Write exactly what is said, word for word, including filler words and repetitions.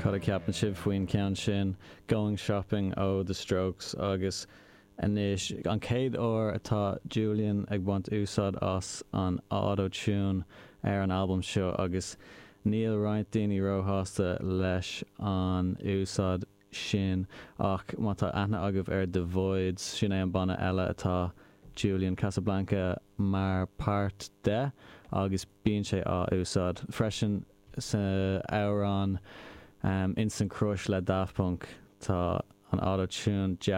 Cad a cheapann sibh faoin ceann sin Going Shopping ó The Strokes agus anois an chéad uair atá Julian ag baint úsáid as an auto-tune ar an albam seo agus níl roinnt daoine róshásta leis an úsáid sin ach má tá aithne agaibh ar The Voids sin é an banna eile atá Julian Casablancas mar páirt de agus bíonn sé á úsáid freisin sa amhrán um, Instant Crush le Daft Punk tá an auto-tune